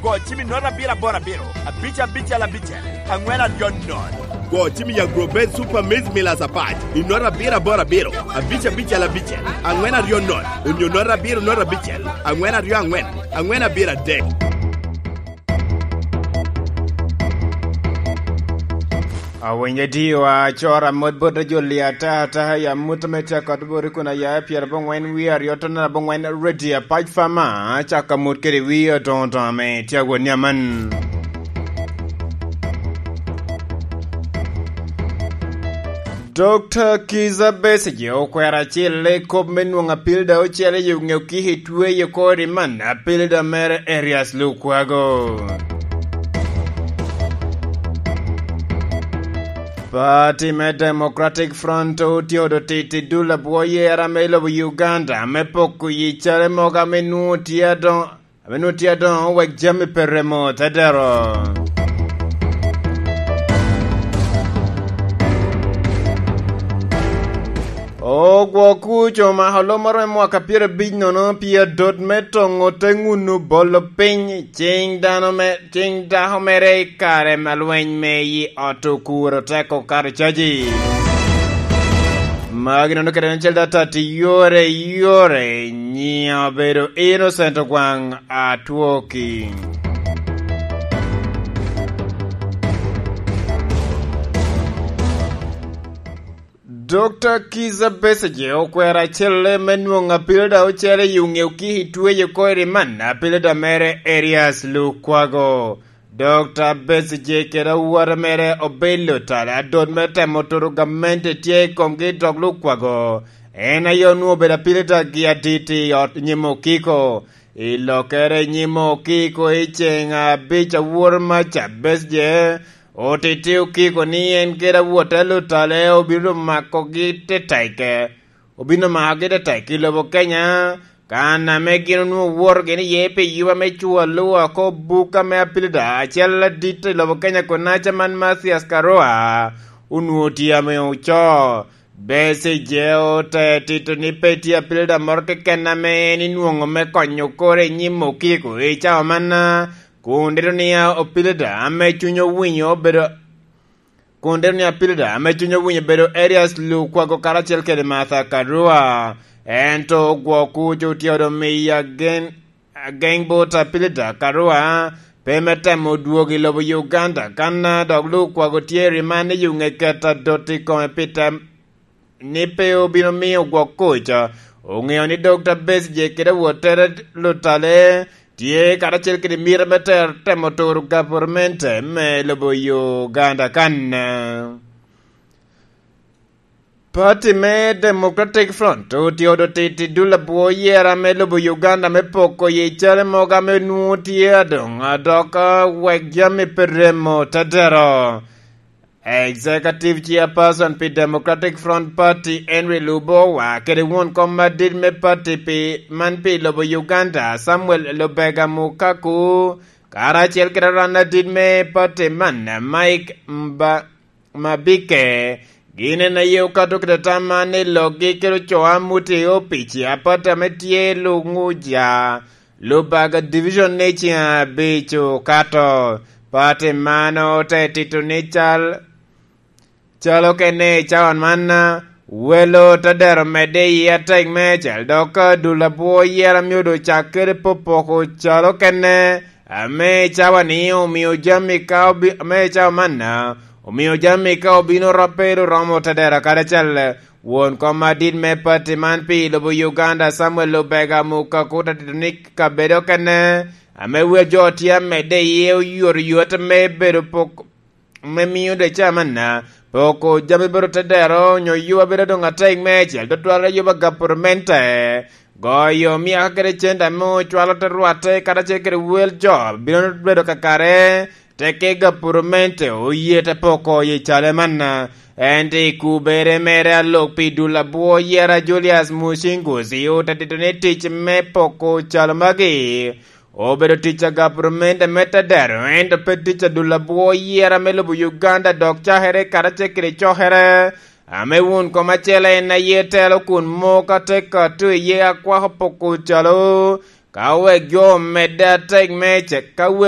Go cim i 0 7 8 5 5 6 4 2 0. Go cim i Agrobet Super Maize Millers Apac i 0 7 8 5 5 6 4 2 0 onyo 0 7 0 5 4 2 4 4 7 3. Awinyo diwa cora mot bot ajoli ata ata ya muto me tye kod bori kun aya 92 ton abongwen radio Apac Farmer caka mot kede wi odongo dongo me tye awot ni aman. Dr. Kizza Besigye okwero acel i kop me nwongo apilda ocele i onge kihi tweyo kori man apilda mere Erias Lukwago. Party me Democratic Front otye titi dul abwo yera me lobo Uganda me poko yi cale mogo ame nwo tye adongo wek jami pe remo tedero. Ogwo kuco omako lo moro me mwaka 50 pi adot me tongo te ngunu bolo piny cing dano me cing dako mere i kare ma lweny me i ot okuro teko okato caji. Magi nono kede en cel data ti yore yore nyiya obedo Innocent Ogwang Atwoki. Dr. Kizza Besigye okwero acelle me nwongo apilda ocele i ongeo ki i tweyo koiri man apilda mere Erias Lukwago. Dr. Besigye kede awote mere obelo tala adot me temo turo gamente tye i komgi dok Lukwago en aye onwongo obedo apilda gi aditi i ot nyim okiko. I lokere nyim okiko i ceng abic awor maca Besigye Otiti okiko ni en kede awote lutale obino makogi tetek obino makogi tetek i lobo Kenya kana me gin onwongo woto gin iye pi yuba me cwalo woko buka me apilida acel ladit i lobo Kenya konaca man Mathias Karua onwongo tye ame oco. Besigye ote tito ni pe tye apilida moro keken ame en inwongo me konyo kore i nyim okiko i cawa man. Kun dito niya opilida ame cwiny owinyo obedo Kun dito niya apilida ame cwiny owinyo obedo Erias Lukwago karacel kede Martha Karua. Ento ogwok kuc otyedo miyo agen ageng bot apilida Karua pe me temo dwogo i lobo Uganda kana dok Lukwago tye riman ni yunge keto adot i kome pi tem ni pe obino miyo gwok kuc. Ongeyo ni Dokta Besigye kede wotere lutale tye karacel kede miti me temo turo gavurmente me lobo Uganda kan. Party me Democratic Front otye titi dul abwo yera me lobo Uganda me poko ye cale mogo me nwo tye adong adok wek jami pe remo tedero. Executive Chairperson pi Democratic Front Party Henry Lubowa kede won kom madit me party pi man pi lobo Uganda Samuel Lubega Mukaku karacel kede ran adit me party man Mike Mba Mabike gin en aye okato kede tam man ni lokgi kede ocoa muti opici apata me tye lunguja Lubaga Division ni ceng abic okato. Party man ote tito ni cal calo kene i cawa man welo tedero medde i atek me cal dok dul abwo yera myodo cak kede popoko calo kene ame i cawa ni omiyo jami ka obi ame i cawa man omiyo jami ka obino rope romo tedero karacel. Won kom madit me party man pi lobo Uganda Samuel Lubega Mukaku tito ni kabedo kene ame wel jo tye amedde iye oyotoyot me bedo pok me miyo deca man poko jami bedo tedero nyo yuba bedo dong atek me cel tutwal yuba gavurmente goyo myaka kede centa me ocwalo te rwatte karacel kede wel jo bino bedo kakare Teke gapurumente oye te poko i cale man, ento i kubere mere alok pi dul abwo yera Julius Musinguzi ote tito ni tic me poko calo magi obedo tic a gapurumente me tedero ento pe tic a dul abwo yera me lobo Uganda dok cakere karacel kede cokere ame wun kom acel en aye telo kun moka te kato iye akwako poko calo ka wek jo omedde atek me ka.